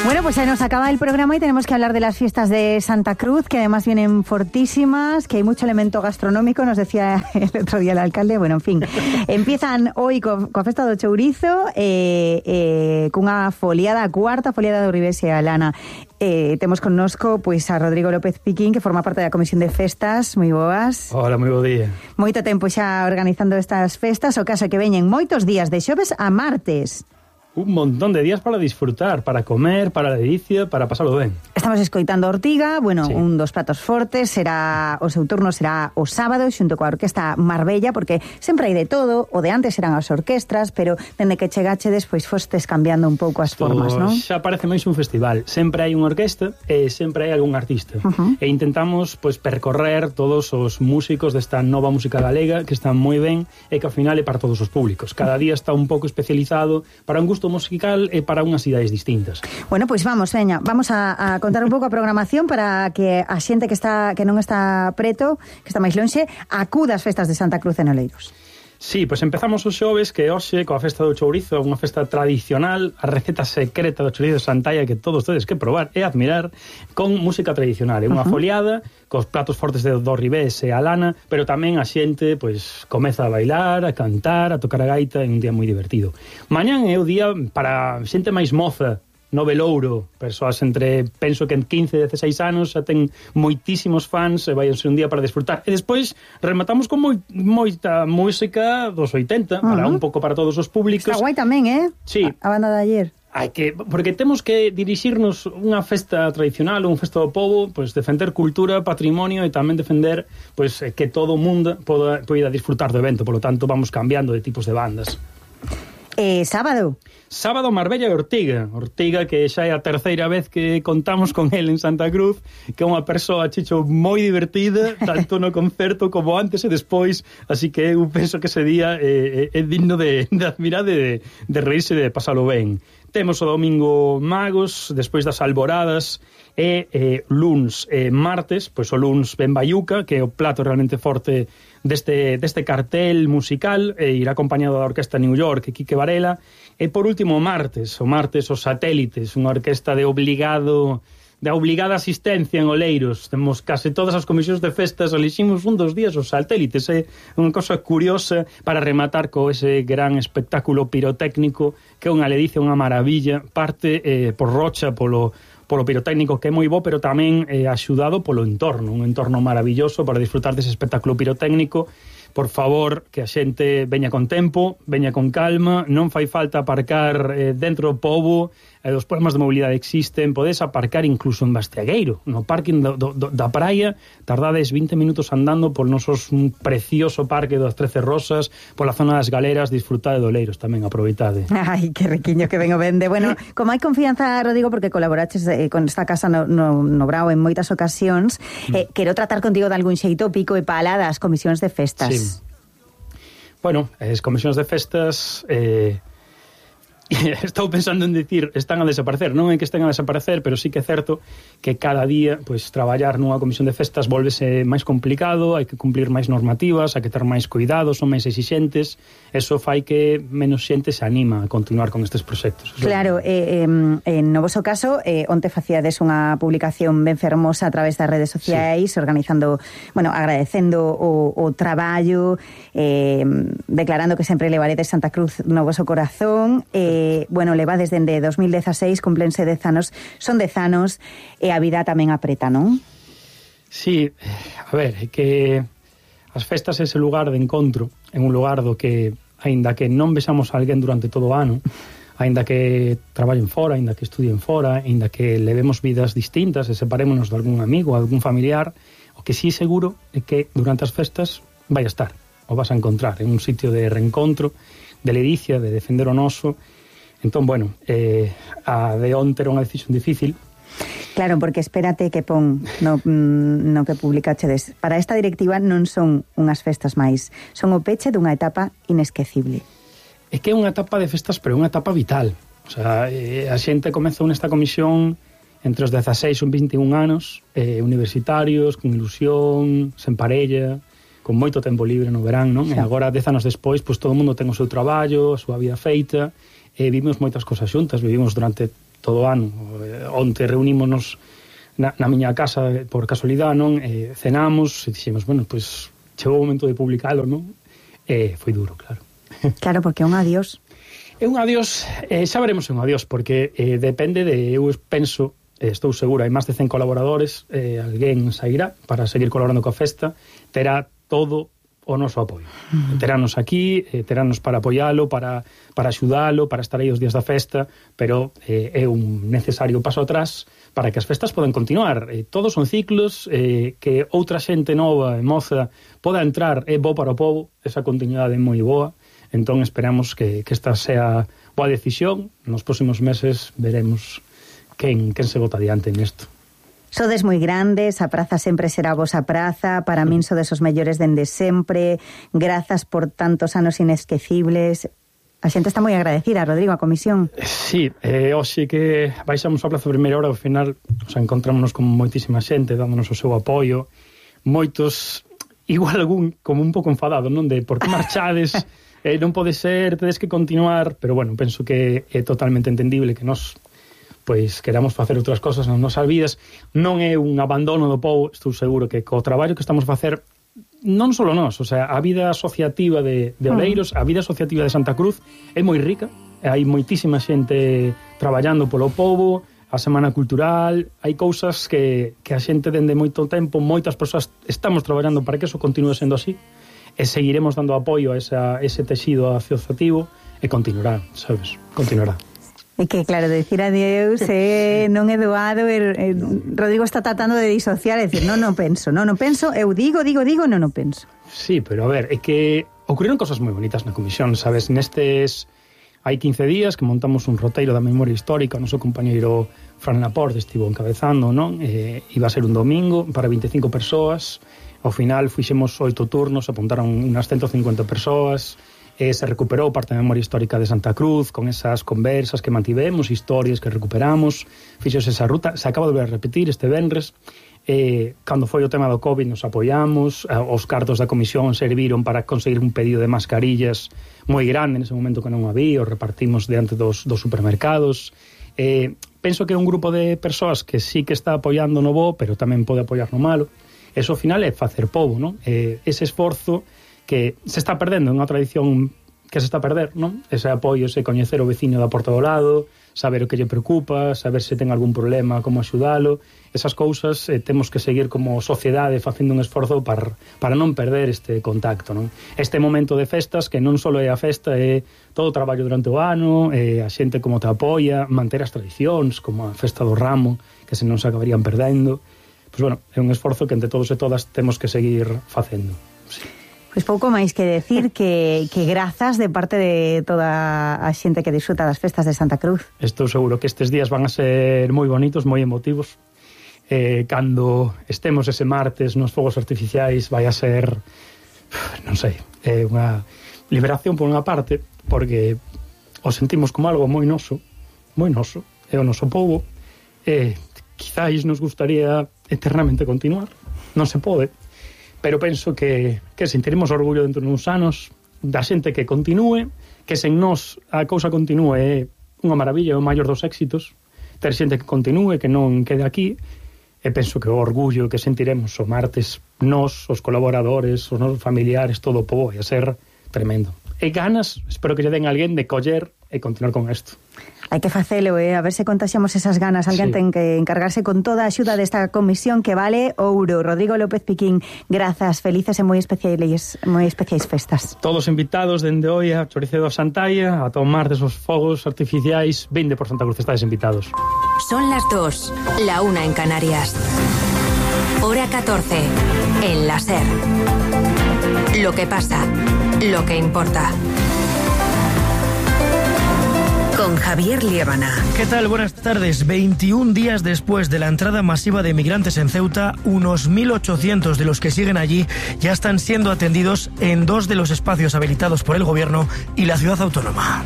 Bueno, pues se nos acaba el programa y tenemos que hablar de las fiestas de Santa Cruz, que además vienen fortísimas, que hay mucho elemento gastronómico, nos decía el otro día el alcalde. Bueno, en fin, empiezan hoy coa festa do chourizo, cunha foliada, a cuarta foliada do Ribes e a Lana. Temos connosco pois a Rodrigo López Piquín, que forma parte da Comisión de Festas. Moi boas. Hola, moi bo día. Moito tempo xa organizando estas festas, o caso que veñen moitos días de xoves a martes. Un montón de días para disfrutar, para comer, para la delicia, para pasarlo ben. Estamos escoitando a Ortiga, bueno, sí. Un dos pratos fortes, o seu turno será o sábado xunto coa Orquesta Marbella, porque sempre hai de todo, o de antes eran as orquestras, pero dende que chegache despois fostes cambiando un pouco as formas, non? Xa parece máis un festival, sempre hai unha orquesta e sempre hai algún artista. E intentamos pois percorrer todos os músicos desta nova música galega que están moi ben e que ao final é para todos os públicos. Cada día está un pouco especializado para un gusto musical e para unhas idades distintas. Bueno, pois vamos, veña, vamos a contar un pouco a programación para que a xente que non está preto, que está máis lonxe, acuda ás festas de Santa Cruz en Oleiros. Sí, pois empezamos os xoves, que hoxe, coa festa do chourizo, unha festa tradicional, a receta secreta do chourizo de Santalla que todos tedes que probar e admirar, con música tradicional, é unha foliada, cos platos fortes do Ribés e a Lana, pero tamén a xente, pois, comeza a bailar, a cantar, a tocar a gaita, é un día moi divertido. Mañán é o día para xente máis moza, no Velouro, persoas entre, penso que en 15 e 16 anos xa ten moitísimos fans e vai ser un día para disfrutar. E despois rematamos con moita música dos 80, para un pouco para todos os públicos. Está guai tamén, Sí. A banda de ayer. Porque temos que dirixirnos unha festa tradicional, un festa do pobo, pois defender cultura, patrimonio e tamén defender pois que todo o mundo poida disfrutar do evento, polo tanto vamos cambiando de tipos de bandas. Sábado Marbella e Ortiga que xa é a terceira vez que contamos con el en Santa Cruz, que é unha persoa, Chicho, moi divertida, tanto no concerto como antes e despois, así que eu penso que ese día é digno de admirar, de reírse e de pasalo ben. Temos o domingo Magos, despois das alboradas, e luns e martes, pois o luns Ben Bayuca, que é o plato realmente forte deste cartel musical, e irá acompañado da Orquesta New York e Quique Varela, e por último o martes os Satélites, unha orquesta de obligada asistencia en Oleiros. Temos case todas as comisións de festas, eliximos un dos días os Satélites, é unha cosa curiosa para rematar co ese gran espectáculo pirotécnico que é unha ledicia, unha maravilla, parte por Rocha, polo pirotécnico, que é moi bo, pero tamén axudado polo entorno, un entorno maravilloso para disfrutar dese espectáculo pirotécnico. Por favor, que a xente veña con tempo, veña con calma, non fai falta aparcar dentro do pobo, os problemas de mobilidade existen, podes aparcar incluso en Bastiagueiro, no parking da praia, tardades 20 minutos andando por nosos precioso parque das 13 Rosas, pola zona das Galeras, disfrutade do Oleiros tamén, aproveitade. Ai, que riquiño que vengo vende. Bueno, como hai confianza, Rodrigo, porque colaboraches con esta casa no Brao en moitas ocasións, quero tratar contigo de algún xeito pico e pala das comisións de festas. Sí. Bueno, as comisións de festas estou pensando en dicir están a desaparecer, non é que estén a desaparecer, pero sí que é certo que cada día pois traballar nunha comisión de festas volvese máis complicado, hai que cumplir máis normativas, hai que ter máis cuidados, son máis exixentes, eso fai que menos xente se anima a continuar con estes proxectos. Claro, no voso caso, onte facíades unha publicación ben fermosa a través das redes sociais, sí, organizando, bueno, agradecendo o traballo, declarando que sempre levaredes Santa Cruz no voso corazón, bueno, levades dende 2016, cumplense 10 anos, son 10 anos e a vida tamén apreta, non? Sí, a ver, é que as festas é ese lugar de encontro, en un lugar do que, aínda que non vexamos a alguén durante todo o ano, aínda que traballen fora, aínda que estudien fora, aínda que levemos vidas distintas e separémonos de algún amigo, algún familiar, o que sí seguro é que durante as festas vai a estar, o vas a encontrar en un sitio de reencontro, de ledicia, de defender o noso. Entón, bueno, a de onte era unha decisión difícil. Claro, porque espérate que pon no que publicachedes. Para esta directiva non son unhas festas máis, son o peche dunha etapa inesquecible. É que é unha etapa de festas, pero é unha etapa vital. O sea, a xente comezou nesta comisión entre os 16 e 21 anos, universitarios, con ilusión, sen parella, con moito tempo libre no verán, non? Sí. E agora, 10 anos despois, pois todo o mundo ten o seu traballo, a súa vida feita, e vivimos moitas cosas xuntas, vivimos durante todo o ano onte reunímonos na miña casa por casualidade, non? Cenamos e dixemos, bueno, pois chegou o momento de publicalo, non? Foi duro, claro. Claro, porque é un adiós. É un adiós, xa veremos un adiós, porque depende de, eu penso, estou segura, hai máis de 100 colaboradores, alguén sairá para seguir colaborando coa festa, terá todo o noso apoio. Terános aquí, terános para apoialo, para axudalo, para estar aí os días da festa, pero é un necesario paso atrás para que as festas podan continuar. Todos son ciclos, que outra xente nova e moza poda entrar, é bo para o povo, esa continuidade é moi boa, entón esperamos que esta sea boa decisión. Nos próximos meses veremos quen se bota adiante nesto. Sodes moi grandes, a praza sempre será a vosa praza, para min sodes os mellores dende sempre, grazas por tantos anos inesquecibles. A xente está moi agradecida, Rodrigo, a comisión. Sí, hoxe que baixamos a praza a primeira hora, ao final encontrámonos con moitísima xente dándonos o seu apoio, moitos, igual algún como un pouco enfadado, non? De por que marchades, non pode ser, tedes que continuar, pero bueno, penso que é totalmente entendible que nos pois queramos facer outras cosas nas nosas vidas. Non é un abandono do povo, estou seguro que co traballo que estamos a facer, non só nós, o sea, a vida asociativa de Oleiros, a vida asociativa de Santa Cruz é moi rica, hai moitísima xente traballando polo povo, a Semana Cultural, hai cousas que a xente dende moito tempo, moitas persoas estamos traballando para que eso continue sendo así, e seguiremos dando apoio a ese texido asociativo, e continuará, sabes, continuará. É que, claro, decir adeus non é doado, Rodrigo está tratando de disociar, é dicir, non penso, eu digo, non penso. Sí, pero a ver, é que ocurriron cosas moi bonitas na comisión, sabes, nestes hai 15 días que montamos un roteiro da memoria histórica, o noso compañeiro Fran Laporte estivo encabezando, non? Iba a ser un domingo para 25 persoas, ao final fixemos 8 turnos, apuntaron unas 150 persoas, se recuperou parte da memoria histórica de Santa Cruz con esas conversas que mantivemos, historias que recuperamos, fixose esa ruta, se acaba de repetir este venres, cando foi o tema do COVID nos apoiamos, os cartos da comisión serviron para conseguir un pedido de mascarillas moi grande nese momento que non había, os repartimos diante dos supermercados. Penso que é un grupo de persoas que sí que está apoiando no bo, pero tamén pode apoiar no malo. Eso ao final é facer povo, non? Ese esforzo que se está perdendo en unha tradición que se está a perder, non? Ese apoio, ese coñecer o veciño da porta do lado, saber o que lle preocupa, saber se ten algún problema, como axudalo, esas cousas temos que seguir como sociedade facendo un esforzo para non perder este contacto, non? Este momento de festas, que non só é a festa, é todo o traballo durante o ano, a xente como te apoia, manter as tradicións, como a festa do ramo, que se non se acabarían perdendo. Pois bueno, é un esforzo que entre todos e todas temos que seguir facendo, sí. Pois pouco máis que decir que grazas de parte de toda a xente que disfruta das festas de Santa Cruz. Estou seguro que estes días van a ser moi bonitos, moi emotivos. Cando estemos ese martes nos fogos artificiais vai a ser, non sei, unha liberación por unha parte, porque o sentimos como algo moi noso, é o noso povo, quizáis nos gustaría eternamente continuar, non se pode, pero penso que sentiremos orgullo dentro de uns anos da xente que continúe, que sen nós a cousa continúe é unha maravilla, é o maior dos éxitos, ter xente que continúe, que non quede aquí, e penso que o orgullo que sentiremos o martes nós, os colaboradores, os nosos familiares, todo o povo, vai a ser tremendo. E ganas, espero que lle den a alguén de coller e continuar con isto. Hai que facelo, a ver se contaxiamos esas ganas. Alguén ten que encargarse con toda a axuda desta comisión que vale ouro. Rodrigo López Piquín, grazas, felices e moi especiais festas. Todos invitados dende hoy a Choricedo a Santalla a tomar desos fogos artificiais. Vinde por Santa Cruz, estáis invitados. Son las 2, la 1 en Canarias. Hora 14, en la SER. Lo que pasa, lo que importa. Con Javier Liébana. ¿Qué tal? Buenas tardes. 21 días después de la entrada masiva de migrantes en Ceuta, unos 1.800 de los que siguen allí ya están siendo atendidos en 2 de los espacios habilitados por el gobierno y la ciudad autónoma.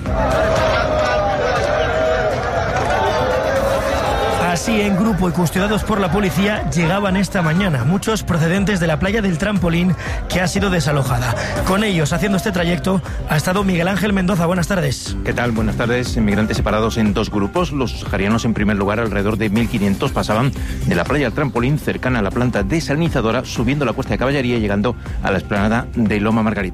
así en grupo y custodiados por la policía llegaban esta mañana, muchos procedentes de la playa del Trampolín, que ha sido desalojada. Con ellos, haciendo este trayecto, ha estado Miguel Ángel Mendoza. Buenas tardes. ¿Qué tal? Buenas tardes. Inmigrantes separados en dos grupos. Los saharianos, en primer lugar, alrededor de 1.500, pasaban de la playa del Trampolín, cercana a la planta desalinizadora, subiendo la Cuesta de Caballería y llegando a la explanada de Loma Margarita.